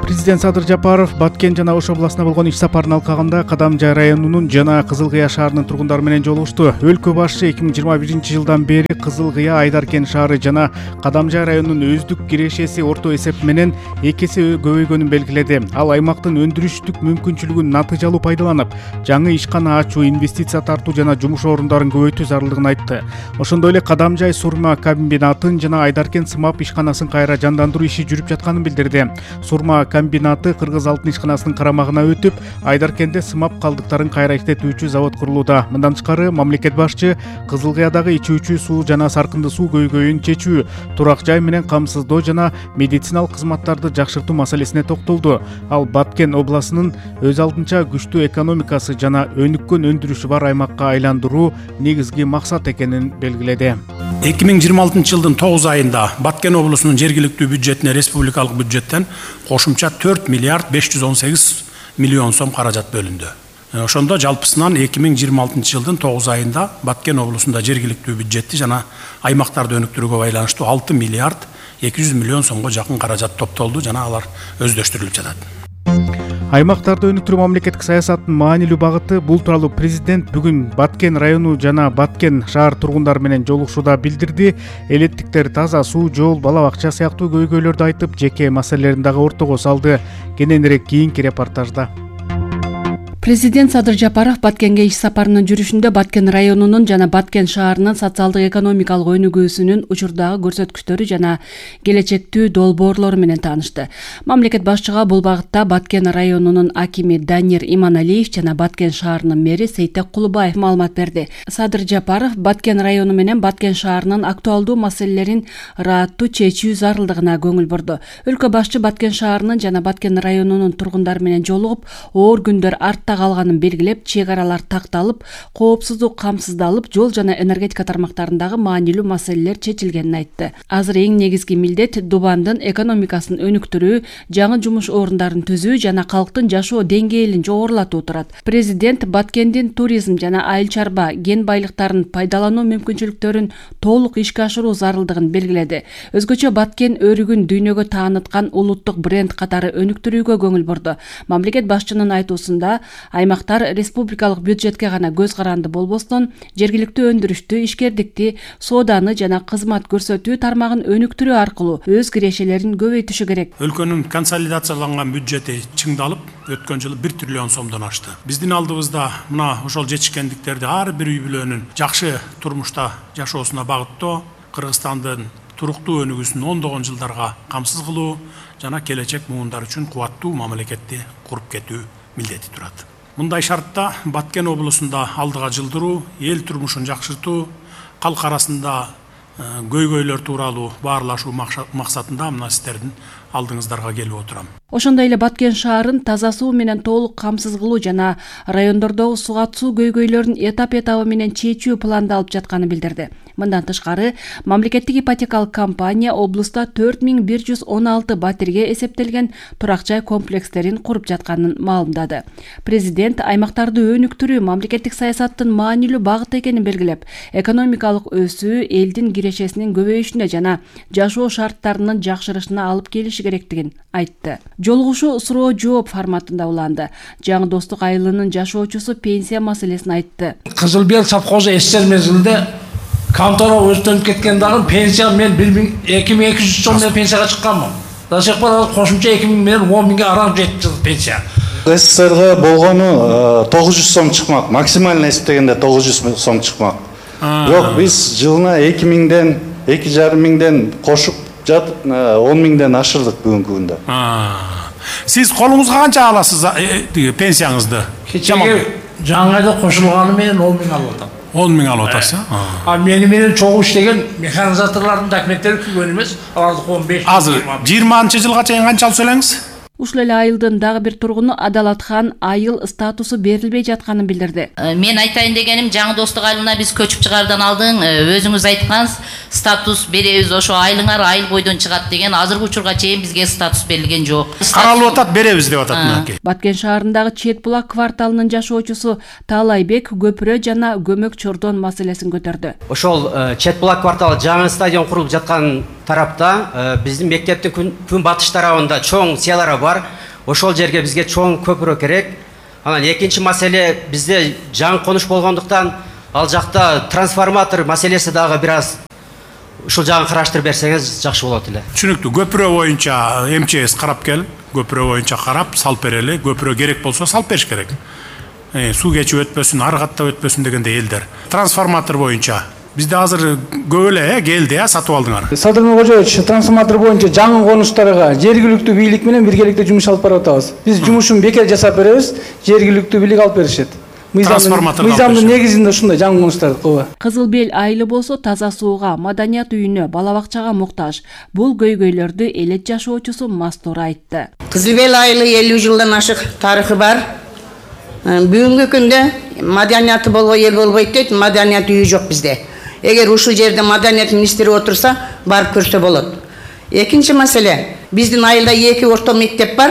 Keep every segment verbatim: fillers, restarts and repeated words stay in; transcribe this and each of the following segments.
Президент Садыр Жапаров Баткен жана Ош областына болгон иш сапарынын алкагында Кадамжай районунун жана Кызыл Кыя шаарынын тургундары менен жолугушту. Өлкө башчы эки миң жыйырма биринчи жылдан бери Кызыл Кыя, Айдаркен шаары жана Кадамжай районунун өздүк кирешеси орто эсеп менен эки эсе көбөйгөнүн белгиледи. Ал аймактын өндүрүштүк мүмкүнчүлүгүн натыйжалуу пайдаланып, жаңы ишкана ачуу, инвестиция тартуу жана жумуш орундарын көбөйтүү зарылдыгын айтты. Ошондой эле Кадамжай сурма комбинатын жана Айдаркен сымап ишканасын кайра жандандыруу иши жүрүп жатканын билдирди. Сурма комбинаты Кыргыз алтын ишканасынын карамагына өтүп, Айдаркенде сымап калдыктарын кайра иштетүүчү завод курулууда. Мындан тышкары мамлекет башчы Кызыл Кыядагы ичүүчү суу жана саркынды суу көйгөйүн чечүү, турак жай менен камсыздоо жана медициналык кызматтарды жакшыртуу маселесине токтолду. Ал Баткен областынын өз алдынча күчтүү экономикасы жана өнүккөн өндүрүшү бар аймакка айландыруу негизги максат экенин белгиледи. эки миң жыйырма алтынчы жылдын тогуз айында Баткен облусунун жергиликтүү бюджетине республикалык бюджеттен кошумча төрт миллиард беш жүз он сегиз миллион сом каражат бөлүндү. Ошондо жалпысынан эки миң жыйырма алтынчы жылдын тогуз айында Баткен облусунда жергиликтүү бюджетти жана аймактарды өнүктүрүүгө байланыштуу алты миллиард эки жүз миллион сомго жакын каражат топтолду жана алар өздөштүрүлүп жатат. Аймактарды өнүктүрүү мамлекеттик саясаттын маанилүү багыты. Бул тууралуу президент бүгүн Баткен району жана Баткен шаар тургундары менен жолугушууда билдирди. Элеттиктер таза суу, жол, бала бакча сыяктуу көйгөйлөрдү айтып, жеке маселелерин дагы ортого салды. Кененирээк кийинки репортажда. Президент Садыр Жапаров Баткенге иш сапарынын жүрүшүндө Баткен районунун жана Баткен шаарынын социалдык экономикалык өнүгүүсүнүн учурдагы көрсөткүчтөрү жана келечектүү долбоорлору менен таанышты. Мамлекет башчыга бул багытта Баткен районунун акими Данир Иманалиев жана Баткен шаарынын мэри Сейтек Кулубаев маалымат берди. Садыр Жапаров Баткен району менен Баткен шаарынын актуалдуу маселелерин ырааттуу чечүү зарылдыгына көңүл бурду. Өлкө башчы Баткен шаарынын жана Баткен районунун тургундары менен жолугуп, оор күндөр артта калганын белгилеп, чек аралар такталып, коопсуздук камсыздалып, жол жана энергетика тармактарындагы маанилүү маселелер чечилгенин айтты. Азыр эң негизги милдет Дубандын экономикасын өнүктүрүү, жаңы жумуш орундарын түзүү жана калктын жашоо деңгээлин жогорулатуу турат. Президент Баткендин туризм жана айыл чарба кен байлыктарын пайдалануу мүмкүнчүлүктөрүн толук ишке ашыруу зарылдыгын белгиледи. Өзгөчө Баткен өрүгүн дүйнөгө тааныткан улуттук бренд катары өнүктүрүүгө көңүл бурду. Мамлекет башчынын айтуусунда аймактар республикалык бюджетке гана көз каранды болбостон, жергиликтүү өндүрүштү, ишкердикти, сооданы жана кызмат көрсөтүү тармагын өнүктүрүү аркылуу өз кирешелерин көбөйтүшү керек. Өлкөнүн консолидацияланган бюджети чыңдалып, өткөн жылы бир триллион сомдон ашты. Биздин алдыбызда мына ошол жетишкендиктерди ар бир үй бүлөнүн жакшы турмушта жашоосуна багыттоо, Кыргызстандын туруктуу өнүгүүсүн ондогон жылдарга камсыз кылуу жана келечек муундар үчүн кубаттуу мамлекетти куруп кетүү милдети турат. Мындай шартта Баткен облусунда алдыга жылдыруу, эл турмушун жакшыртуу, калк арасында көйгөйлөр тууралуу баарлашуу максатында мына сиздердин алдыңыздарга келип отурам. Ошондой эле Баткен шаарын таза суу менен толук камсыз кылуу жана райондордогу сугат суу көйгөйлөрүн этап-этабы менен чечүү пландалып жатканын билдирди. Мындан тышкары, мамлекеттик ипотекалык компания облуста төрт миң бир жүз он алты батирге эсептелген турак жай комплекстерин куруп жатканын маалымдады. Президент аймактарды өнүктүрүү мамлекеттик саясаттын маанилүү багыты экенин белгилеп, экономикалык өсүү элдин кирешесинин көбөйүшүнө жана жашоо шарттарынын жакшырышына алып келиши керектигин айтты. Жолугушуу суроо жооп форматында уланды. Жаңы Достук айылынын жашоочусу пенсия маселесин айтты. Кызыл Бел совхозу эсер мезгилде контора өзтөнүп кеткен дагы пенсия мен эки миң эки жүз сом менен пенсияга чыкканмын. До сих пор кошумча эки миң менен он миңге арам жетти пенсия. СССРга болгону тогуз жүз сом чыкмак, максимально эсептегенде тогуз жүз сом чыкмак. Бирок биз жылына эки миңден, эки жарым миңден кошуп жатып он миңден ашырдык бүгүнкү күндө. Сиз колуңузга канча аласыз пенсияңызды? Кечеге жаңы айда кошулганы менен он миң алып атам. он миң алып атасыз? А мени менен чогуу иштеген механизаторлордун документтери түгөн эмес, аларды он беш. Азыр жыйырманчы жылга чейин канча алып элеңиз? Ушул эле айылдын дагы бир тургуну Адалатхан айыл статусу берилбей жатканын билдирди. Мен айтайын дегеним, жаңы Достук айылына биз көчүп чыгардан алдың, өзүңүз айткансыз, статус беребиз, ошо айылыңар айыл бойдон чыгат деген, азыркы учурга чейин бизге статус берилген жок. Каралып атат, беребиз деп атат мынакей. Баткен шаарындагы Чет булак кварталынын жашоочусу Таалайбек көпүрө жана көмөк чордон маселесин көтөрдү. Ошол Чет булак кварталы жаңы стадион курулуп жаткан тарапта биздин мектептин күн батыш тарабында чоң селара бар. Ошол жерге бизге чоң көпүрө керек. Анан экинчи маселе бизде жаңы конуш болгондуктан ал жакта трансформатор маселеси дагы бир аз ушул жагын караштырып берсеңиз жакшы болот эле. Түшүнүктүү. Көпүрө боюнча эм че эс карап кел. Көпүрө боюнча карап салып берели. Көпүрө керек болсо салып бериш керек. Э, суу кечип өтпөсүн, ары каттап өтпөсүн дегенде элдер. Трансформатор боюнча бизде азыр көп эле келди, э, сатып алдыңар. Садыр Кожоевич, трансформатор боюнча жаңы конуштарга жергиликтүү бийлик менен биргеликте жумуш алып барып атабыз. Биз жумушун бекер жасап беребиз, жергиликтүү бийлик алып беришет. Мыйзамдын негизинде ушундай жаңы конуштарды кылба. Кызыл Бел айылы болсо таза сууга, маданият үйүнө, бала бакчага муктаж. Бул көйгөйлөрдү элет жашоочусу Мастор айтты. Кызыл Бел айылы элүү жылдан ашык тарыхы бар. Бүгүнкү күндө маданияты болбой эл болбойт дейт, маданият үйү жок бизде. Эгер ушул жерде маданият министри отурса, барып көрсө болот. Экинчи маселе, биздин айылда эки орто мектеп бар.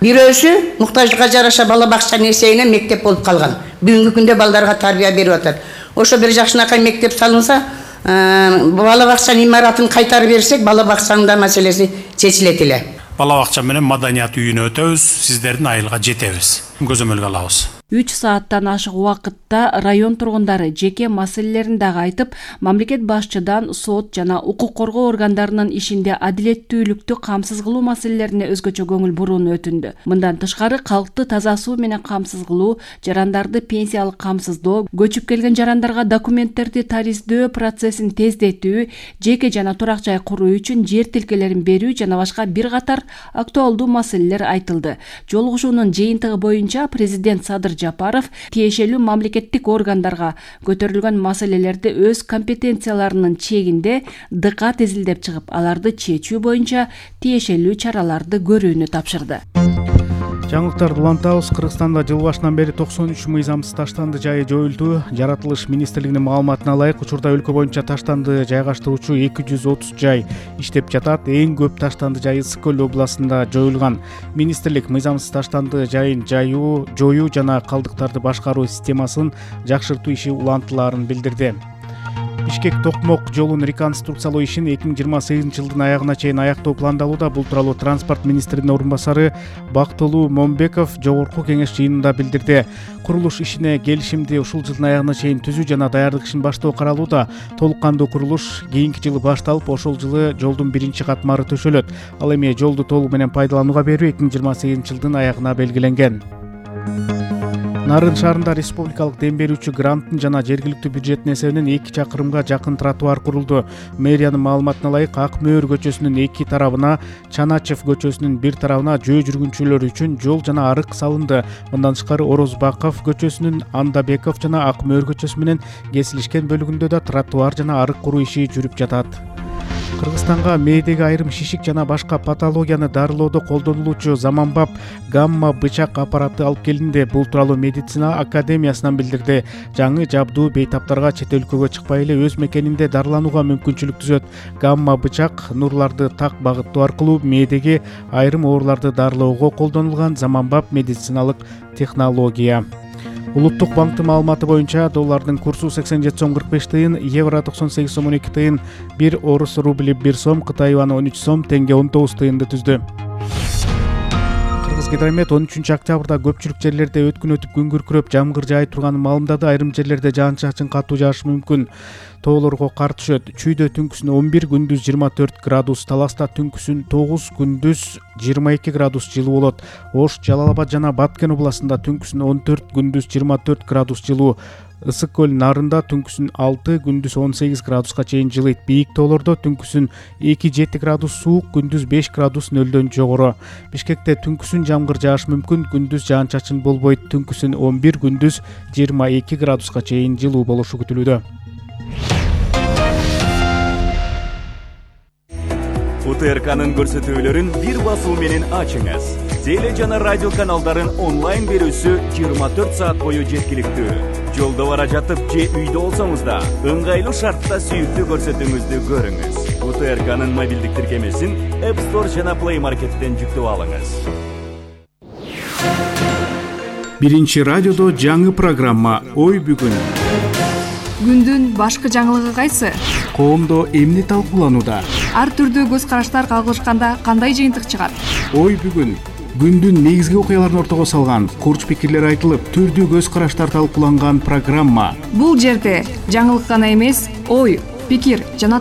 Бирөөсү муктаждыкка жараша бала бакчанын эсебинен мектеп болуп калган. Бүгүнкү күндө балдарга тарбия берип атат. Ошо бир жакшынакай мектеп салынса, бала бакчанын имаратын кайтарып берсек, бала бакчанын да маселеси чечилет эле. Бала бакча менен маданият үйүнө өтөбүз, сиздердин айылга жетебиз. Көзөмөлгө алабыз. үч сааттан ашык убакытта район тургундары жеке маселелерин дагы айтып, мамлекет башчыдан сот жана укук коргоо органдарынын ишинде адилеттүүлүктү камсыз кылуу маселелерине өзгөчө көңүл бурууну өтүндү. Мындан тышкары калкты таза суу менен камсыз кылуу, жарандарды пенсиялык камсыздоо, көчүп келген жарандарга документтерди тариздөө процессин тездетүү, жеке жана турак жай куруу үчүн жер тилкелерин берүү жана башка бир катар актуалдуу маселелер айтылды. Жолугушуунун жыйынтыгы боюнча президент Садыр Жапаров тиешелүү мамлекеттик органдарга көтөрүлгөн маселелерди өз компетенцияларынын чегинде дыкат изилдеп чыгып, аларды чечүү боюнча тиешелүү чараларды көрүүнү тапшырды. Жаңылыктарды улантабыз. Кыргызстанда жыл башынан бери токсон үч мыйзамсыз таштанды жайы жоюлду. Жаратылыш министрлигинин маалыматына ылайык, учурда өлкө боюнча таштанды жайгаштыруучу эки жүз отуз жай иштеп жатат. Эң көп таштанды жайы Ысык көл областында жоюлган. Министрлик мыйзамсыз таштанды жайын жаюу, жоюу жана калдыктарды башкаруу системасын жакшыртуу иши улантылаарын билдирди. Бишкек Токмок жолун реконструкциялоо ишин эки миң жыйырма сегизинчи жылдын аягына чейин аяктоо пландалууда. Бул тууралуу транспорт министринин орун басары Бактылуу Момбеков жогорку кеңеш жыйынында билдирди. Курулуш ишине келишимди ушул жылдын аягына чейин түзүү жана даярдык ишин баштоо каралууда. Толук кандуу курулуш кийинки жылы башталып, ошол жылы жолдун биринчи катмары төшөлөт. Ал эми жолду толугу менен пайдаланууга берүү эки миң жыйырма сегизинчи жылдын аягына белгиленген. Нарын шаарында республикалык дем берүүчү гранттын жана жергиликтүү бюджеттин эсебинен эки чакырымга жакын тротуар курулду. Мэриянын маалыматына ылайык, Ак Мөөр көчөсүнүн эки тарабына, Чаначев көчөсүнүн бир тарабына жөө жүргүнчүлөр үчүн жол жана арык салынды. Мындан тышкары Орозбаков көчөсүнүн Андабеков жана Ак Мөөр көчөсү менен кесилишкен бөлүгүндө да тротуар жана арык куруу иши жүрүп жатат. Кыргызстанга мээдеги айрым шишик жана башка патологияны дарылоодо колдонулуучу заманбап гамма бычак аппараты алып келинди. Бул тууралуу медицина академиясынан билдирди. Жаңы жабдуу бейтаптарга чет өлкөгө чыкпай эле өз мекенинде дарыланууга мүмкүнчүлүк түзөт. Гамма бычак нурларды так багыттоо аркылуу мээдеги айрым ооруларды дарылоого колдонулган заманбап медициналык технология. Улуттук банктын маалыматы боюнча доллардын курсу сексен жети сом кырк беш тыйын, евро токсон сегиз сом он эки тыйын, бир орус рубли бир сом, Кытай юаны он үч сом, тенге он тогуз тыйынды түздү. Кыргызгидромет он үчүнчү октябрда көпчүлүк жерлерде өткүн өтүп күн күркүрөп жамгыр жаай турганын маалымдады. Айрым жерлерде жаан-чачын катуу жаашы мүмкүн. Тоолорго кар түшөт. Чүйдө түнкүсүн он бир, күндүз жыйырма төрт градус, Таласта түнкүсүн тогуз, күндүз жыйырма эки градус жылуу болот. Ош, Жалал Абад жана Баткен областында түнкүсүн он төрт, күндүз жыйырма төрт градус жылуу. Ысык көл Нарында түнкүсүн алты, күндүз он сегиз градуска чейин жылыйт. Бийик тоолордо түнкүсүн эки жети градус суук, күндүз беш градус нөлдөн жогору. Бишкекте түнкүсүн жамгыр жаашы мүмкүн, күндүз жаан-чачын болбойт. Түнкүсүн он бир, күндүз жыйырма эки градуска чейин жылуу болушу күтүлүүдө. У Т Р К'нын көрсөтүүлөрүн бир басуу менен ачыңыз. Теле жана радио каналдарын онлайн берүүсү жыйырма төрт саат бою жеткиликтүү. Жолдо бара жатып же үйдө болсоңуз да ыңгайлуу шартта сүйүктүү көрсөтүүңүздү көрүңүз. У Т Р К'нын мобилдик тиркемесин App Store жана Play Market'тен жүктөп алыңыз. Биринчи радиодо жаңы программа Ой бүгүн. Күндүн башкы жаңылыгы кайсы? коомдо эмне талкууланууда? Ар түрдүү көз караштар кагылышканда кандай жыйынтык чыгат? Ой бүгүн күндүн негизги окуяларын ортого салган, курч пикирлер айтылып, түрдүү көз караштар талкууланган программа. Бул жерде жаңылык гана эмес, ой, пикир жана